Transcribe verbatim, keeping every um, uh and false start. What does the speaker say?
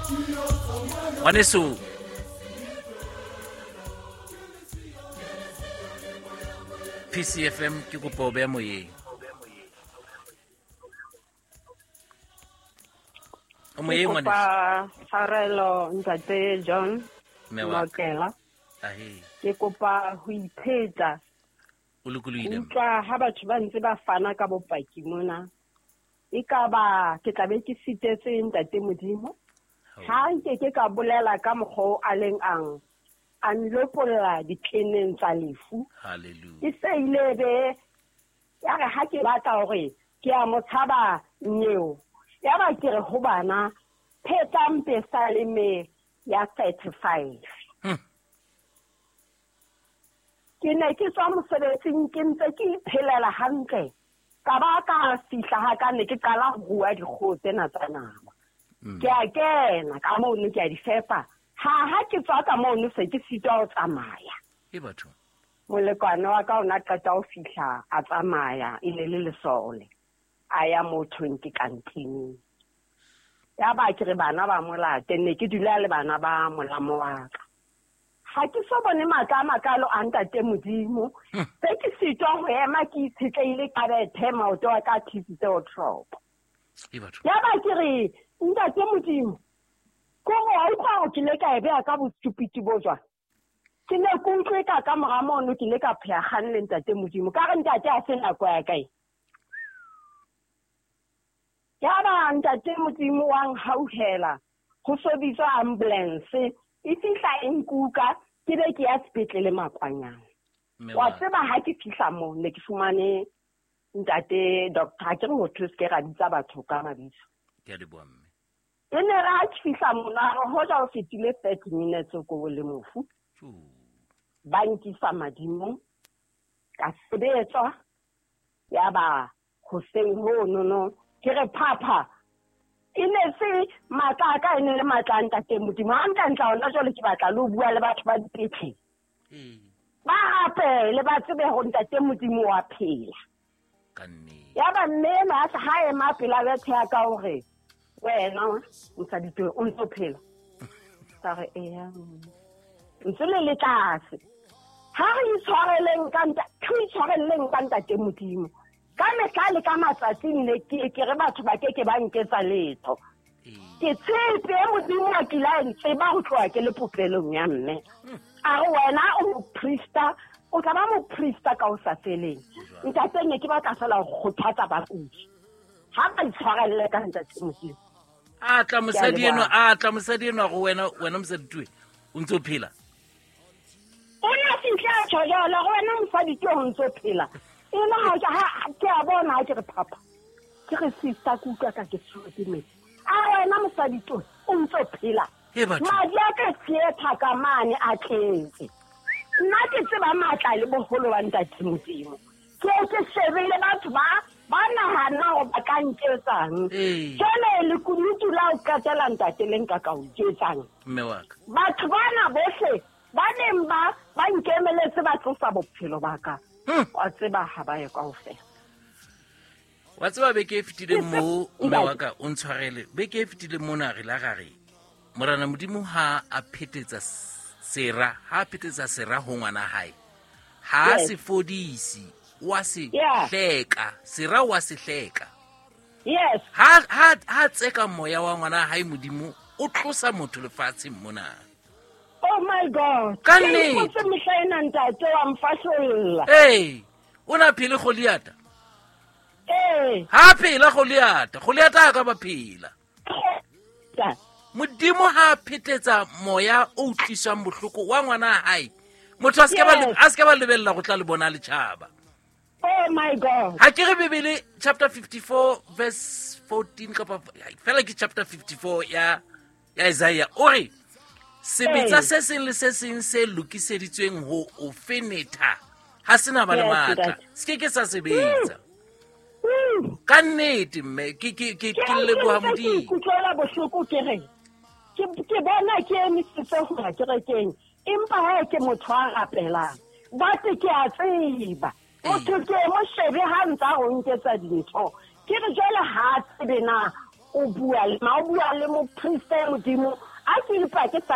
Ngwaneso P C F M ke kopa o beha moyeng. O moyeng ngwaneso. Tshwarelo ntate John Mokela. Ahe. Ke kopa ho ipheta. O lokolohile. Utlwa ha batho ba ntse ba fana ka bopaki mona. E ka ba ke tla be ke sitetse ntate Modimo. Ha nke ke ka bolela ka mokgwa a leng ang. A nlopolla ditleneng tsa lefu. Hallelujah. Ke se ile be ya re ha ke batla hore ke a mo tshaba nyeo. Ya ba ke re ho bana phetang pesaleme ya thirty-five. Hmm. Ke ne ke tswa mosebetsing ke ntse ke iphelela hantle. Ka ba ka fihla ha ka ne ke qala ho rua dikgoho tsena tsa nama. Ke a kena ka mono ke a di fepa. Ha ha ke tswa ka mono se ke sitwa ho tsamaya. E batho. Molekwane wa ka o na qeta ho fihla a tsamaya e ne le lesole. A ya mothong ke kantining. Ya ba ke re bana ba molate ne ke dula le bana ba molamo wa ka. Ha ke so bone matla a makalo a ntate Modimo. Se ke sitwa ho ema ke itshetleile ka bethe maoto a ka thisitse ho tropo. E batho. Ya ba ke re ntate Modimo ko wa utlwa hore ke ile ka e beha ka bostupidi bo jwang. Ke ne ke utlwe ka ka mora mono ke ile ka pheha kgang le ntate Modimo. Ka re ntate a se nako ya kae. Ya ba ntate Modimo wa nhauhela ho so bitswa ambulance e fihla e nkuka ke be ke ya sepetlele Makwanyane. Wa tseba ha ke fihla moo ne ke fumane ntate doctor ke re ho thuse ke ra bitsa batho ka mabitso. Ke a leboha mme. E ne re ha ke fihla mona re hoja o fetile thirty minutes ko le mofu. Ba nkisa madimong ka sebetswa ya ba hoseng ho no ke re phapha e ne se matla a ka e ne le matla a ntate Modimo. Ha ntla hona jwale ke batla le ho bua le batho ba dipetlele. Ba rapele ba tsebe hore ntate Modimo wa phela. Ka nnete. Ya ba mme enwa a ha ema pela bethe ya ka hore wena mosadi twe o ntso phela. Ka re eya. Ntse le le tlase. Ha re itshwareleng ka ntate, re itshwareleng ka ntate Modimo. Ka mehla le ka matsatsi ne ke ke re batho ba ke ke ba nketsa letho. Ke tshepe Modimo a kile a ntseba ho tloha ke le popelong ya mme. A re wena o moprista, o tla ba moprista ka ho sa feleng. Ntate ne ke batla fela ho kgothatsa bakudi. Ha ba itshwarelle ka ntate Modimo. A tla mosadi eno, a tla mosadi eno go wena, wena mosadi twe o ntso phela. O na fihla tjho jwalo go wena mosadi twe o ntso phela. E le ha ke ha ke a bona ha ke re papa. Ke re sister ke utlwa ka ke tshwerwe ke metsi. A wena mosadi twe o ntso phela. Madi a ka theatre ka mane a tletse. Nna ke tseba matla le boholo ba ntate Modimo. Ke ke shebile batho ba ba nahana hore ba ka nketsang. Jwale lekunutu la o qetela ntate le nka ka o jetsang. Mme wa ka. Batho bana bohle ba neng ba ba nkemeletse ba tlosa bophelo ba ka. Wa tseba ha ba ye kaofela. Wa tseba beke e fetileng moo mme wa ka o ntshwarele. Beke e fetileng mona re la ra re Morena Modimo ha a phetetsa sera, ha a phetetsa sera ho ngwana hae. Ha se fodisi, wa se hleka, sera wa se hleka. Yes. Ha ha ha tseka moya wa ngwana hae Modimo o tlosa motho lefatsheng mona. Oh my God. Ka nnete. Ke mehla ena ntate wa mfahlolla. Ee, o na phele Goliata. Ee. Ha phela Goliata, Goliata a ka ba phela. Modimo ha phetetsa moya o tlisang bohloko wa ngwana hae. Motho a se ke ba a se ke ba lebella go tla le bona letjhaba. Oh my God. Ha ke re Bibele chapter fifty-four verse fourteen kapa fela ke chapter fifty-four ya ya Isaiah o re sebetsa se seng le se seng se lokiseditsweng ho o fenetha ha sena ba le matla se ke ke sa sebetsa. Ka nnete mme ke ke ke ke leboha Modimo. Ke utlwela bohloko ke re ke ke bona ke emisitse ho ya kerekeng empa ha ke motho a rapelang but ke a tseba motho ke mo shebe ha ntsa ho nketsa dintho ke re jwale ha tsebe na o bua le ma o bua le moprista ya modimo a ke ipake sa le